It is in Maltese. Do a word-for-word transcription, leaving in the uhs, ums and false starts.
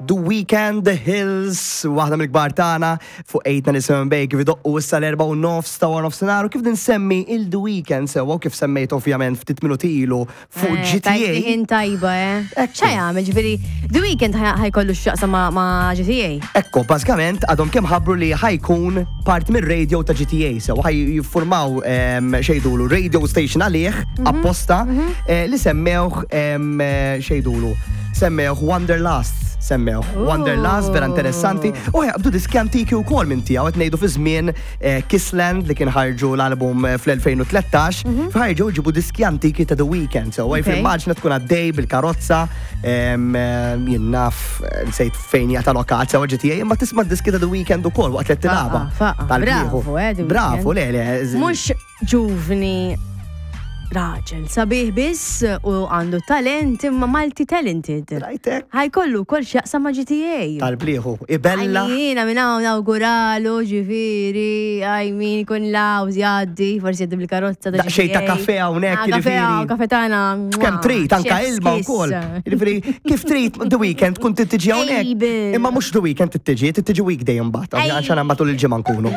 The Weeknd, The Hills, waħda mill-kbar tagħna fuq eight nine seven Bay, kif idoqqu issa l-erba' u nofs ta' wara nofsinhar u kif nsemmi il-The Weeknd sewwa u kif semmejt ovvjament ftit minuti ilu fuq Eh, G T A. Tajtni ħin tajba, eh. Ekku. ċa jagħmel, ġifieri, The Weeknd ħa jkollu x'jaqsam ma' ma' G T A? Ekko, bażikament għadhom kemm ħabbru li ħa jkun part mir-radio ta' G T A, so ħa jiffurmaw em, x'jgħidulu radio station għalih apposta eh, li semmewh em, eh, x'jgħidulu semmewh Wanderlust, semmewh Wanderlust, vera interessanti. U jaqbdu diski antiki wkoll minn tiegħu, qed ngħidu fi żmien eh, Kissland li kien ħarġu l-album eh, fl-elfejn u tlettax, ħarġu ġibu diski antiki ta' The Weeknd. So Okay. immaġina tkun għaddej bil-karozza, em, eh, jien naf, eh, nsejt fejn jgħata lokat sewa G T A, imma tisma' diski ta' The Weeknd ukoll waqt li tilgħabha. Faqa, faqa. Tal-bieħu. Bravo, eh, The Bravo, Weeknd. le, le. z- Mhux ġuvni raġel sabiħ biss u għandu talent imma multi talented. Rajtek? Ħa jkollu kol x'jaqsam ma' G T A. Tal-bliħu. Ibella. Jiena minn hawn nawguralu, ġifieri, I mean, kun laws jgħaddi, forsi jgħaddi bil-karozza ta' Daqsxejn ta' G T A. kafe hawnhekk, Ah, kafe jiġifieri. hawn, kafe tagħna. Kemm trid, anka Chef's ilma kiss. wkoll. Jiġifieri, kif trid The Weeknd kun tiġi hawnhekk. Ejbel. Imma mhux The Weeknd tiġi, tiġi weekday imbagħad, Ej. għax matul il-ġimgħa nkunu.